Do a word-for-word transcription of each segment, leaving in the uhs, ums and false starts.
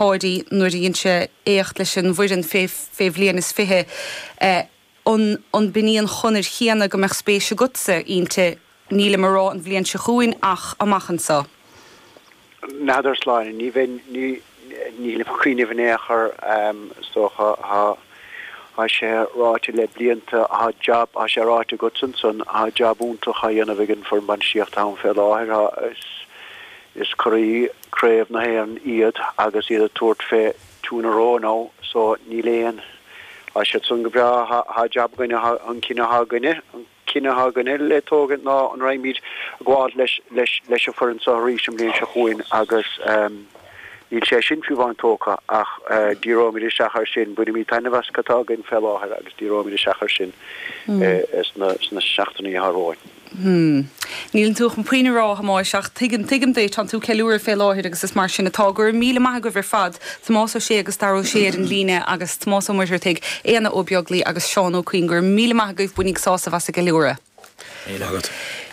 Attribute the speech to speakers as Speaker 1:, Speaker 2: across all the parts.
Speaker 1: Páidí nuair a dhein sé éacht leis an bhfoireann fé fé bhliain is fiche eh, an an b'in í an chonair chéanna go mbeadh spéis agatsa inti nílim ag rá an bhliain seo chugainn ach amach anseo.
Speaker 2: N'fheadar Sláine ní bheinn ní nílim ag cuimhneamh in aon chor is dócha tá tá sé ráite le blianta tá jab tá sé ráite agat ansan tá jab iontach á dhéanamh ag an foireann bainistíochta ann fé láthair tá is is curaidh craobh na hÉireann iad agus iad ag tabhairt fé two in a row now so níl aon tá siad san go breá tá jab againne an cinneadh atá againne an cinneadh atá againne le tógaint ná an raghaimid ag gabháil leis leis leis an foireann seo arís an bhliain seo chugainn agus níl sé sin fiú amháin tógtha ach díreoimid isteach air sin bainimid taitneamh as cad atá againn fé láthair agus díreoimid isteach air sin sna sna seachtainí atá romhainn.
Speaker 1: Hmm. Níl tú chun puinn a rá a Thomáis ach tuigim tuigim duit tánn tú ag ceiliúradh fé láthair agus is mar sin atá go raibh míle maith agaibh ar fad Tomás Ó Sé agus Dara Ó Sé ar an líne agus Tomás Ó Muircheartaigh, Éanna Ó Beaglaoi agus Seán Ó Cuinn go raibh míle maith agaibh bainíg sásamh as an gceiliúradh.
Speaker 3: Agat.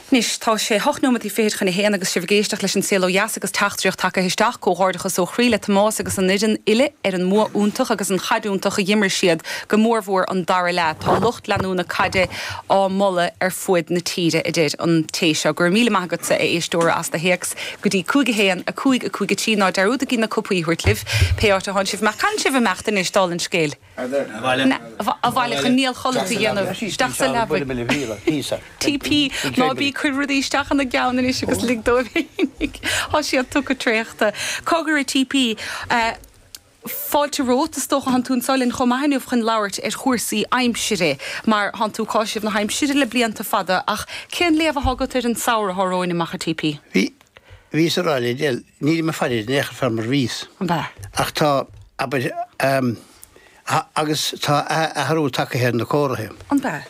Speaker 1: Anois tá sé hocht nóiméad fichead chun a haon agus sibh ag éisteacht leis an Saol Ó Dheas agus teachtaireacht tagtha isteach comhghairdeachas ó chroí le Tomás agus an fhoireann uile ar an mbua iontach agus an chaid iontach a d'imir siad go mórmhór an dara leath. Tá lucht leanúna caide á moladh ar fud na tíre a deir an té seo. Go raibh míle maith agatsa a éisteora as do théacs go dtí cúig a haon a cúig a cúig a trí ná dearúdaigí na cupaí a thabhairt libh pé áit atánn sibh meach can sibh imeacht anois dála an scéil. Abhaile chun néalchodladh a dhéanamh isteach sa leaba. TP ná bí ag cur rudaí isteach ina gceann anois agus lig dóibh féinig. Tá siad tugtha traochta. Cogar a TP Fáilte romhat is dócha tánn tú anseo linn chomh maith inniu chun labhairt ar chúrsaí aimsire mar tánn tú ag cáiseamh na haimsire le blianta fada ach cén léamh atá agat ar an samhradh atá romhainn amach a TP?
Speaker 4: Bhí bhíos ag rá le Del nílim ag faire in aon chor mar bhíos.
Speaker 1: An b'ea?
Speaker 4: Ach tá abair um, agus tá athrú tagtha ar na comharthaí.
Speaker 1: An b'ea?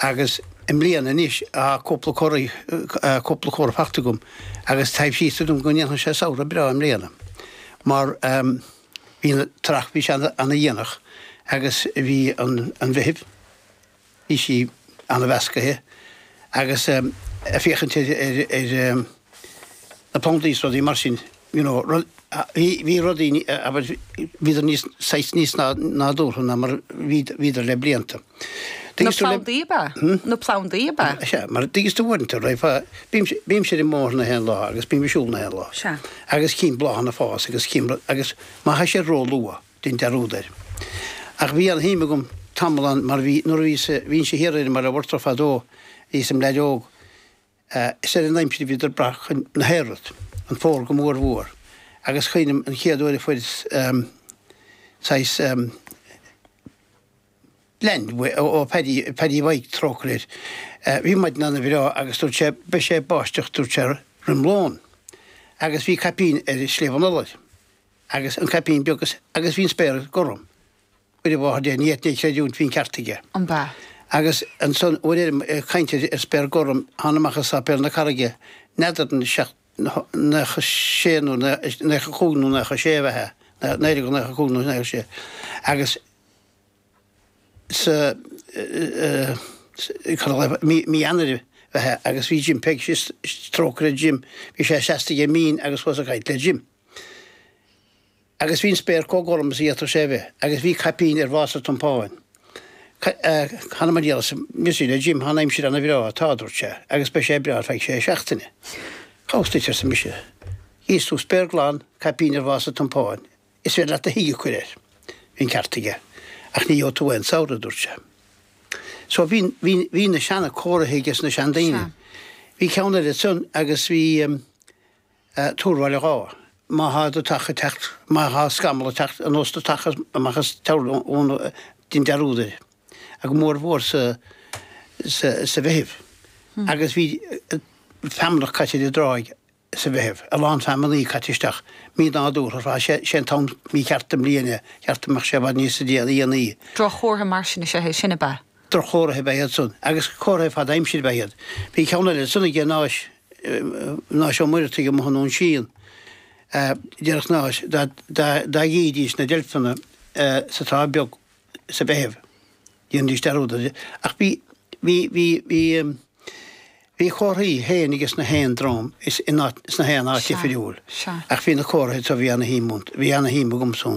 Speaker 4: Agus i mbliana anois tá cúpla comhartha cúpla comhartha faighte agam agus taobh síos dom go ndéanfaidh sé samhradh breá i mbliana. Mar um, bhí an earrach bhí sé an-dhéanach agus bhí an, an Mheitheamh bhí sí an-mheasctha agus um, ag féachaint ar, ar, ar um, na plandaí is rudaí mar sin you know, rud, bhí bhí rudaí abair bhíodar níos saghas níos nádúrtha ná mar bhíodar le blianta.
Speaker 1: Na plandaí ab ea? Na plandaí ab ea?
Speaker 4: Sea, mar tuigeann tú uaireanta roimh bímse ar an mbóthar na haon lá agus bím ag siúl na haon lá.
Speaker 1: Sea.
Speaker 4: Agus cím bláthanna ag fás agus cím agus má tha sé ró-luath dein dearúd air. Ach bhí an-shuim agam tamall ann mar bhí nuair a bhíos bhínnse thiar ar an mBaile Mhurtrach fadó bhíos im leaid óg is ar an aimsir a bhíodar ag brath chun na haerrud, an fómhar go mór mhór. Agus cuimhním an chéad uair a fuaireas saghas leann ó Paddy Paddy Mhaidhc trócaire air. Bhí maidin ana-bhreá agus dúirt sé beidh sé ag báisteach dúirt sé roim lón. Agus bhí caipín ar Sliabh an Iolair agus an caipín beag agus bhí an spéir gorm. Mhuire mháthair Dé ní fhéadfainn é a chreidiúint bhí an ceart aige.
Speaker 1: An b'ea?
Speaker 4: Agus ansan uair eile ag caint ar spéir gorm thána amach as Sáipéal na Carraige n'fheadar an seacht nócha sé nó nócha cúig nó nócha sé a bheith ea, naoi déag nócha cúig nó nócha sé agus sa mí Eanáir a bheith ea agus bhí Jim Peig síos trócaire Jim bhí sé seasta ag an mbinn agus chuas ag caint le Jim. Agus bhí an spéir chomh gorm is a d'fhéadfadh sé a bheith agus bhí caipín ar mhása Tom Pháin. Th'anam 'on diabhal arsa mise le Jim, tá an aimsir ana bhreá, tá, a dúirt sé, agus beidh sé breá ar feadh sé seachtaine. Cá bhfios duit, arsa mise. Chíos tú spéir glan, caipín ar mhása Tom Pháin. Is féidir leat do thigh a chur air. Bhí an ceart aige. Ach ní gheobhaidh tú aon samhradh, a dúirt sé. So bhí, bhí, bhí na seana comharthaí aige na seandaoine. Bhí ceann eile ansan agus bhí Tuar Bhaile Dháith. Má thá deatach ag teacht, má thá scamall ag teacht anuas deatach amach as teamhair ón dein dearúd air. Go mór mhór sa, sa, sa Mheitheamh. Agus bhí feamnach caite ar an dtráigh sa Mheitheamh, a lán feamnaí caite isteach, mí nádúrtha ar fad, sé, sé an t-am mícheart den mbliain é, cheart go mbeadh sé i bhfad níos déanaí.
Speaker 1: Droch-chomhartha mar sin is ea é sin, ab ea?
Speaker 4: Droch-chomhartha ab ea iad san, agus comharthaí fad aimsire ab ea iad. Bhí ceann eile ansan aige Náis, Náis Ó Muireadhaigh amuigh i nDún Síon, déarfadh Náis dá, dá, dá gcídís na deilfeanna sa Trá Bheag sa Mheitheamh, dhéanfaidís dearúd air. Ach bhí, bhí, bhí, bhí, Bhí comharthaí féin agus na haon dream is sna haon áit difriúil. Ach bhí na comharthaí so bhí ana-shuim bhí ana-shuim agamsa.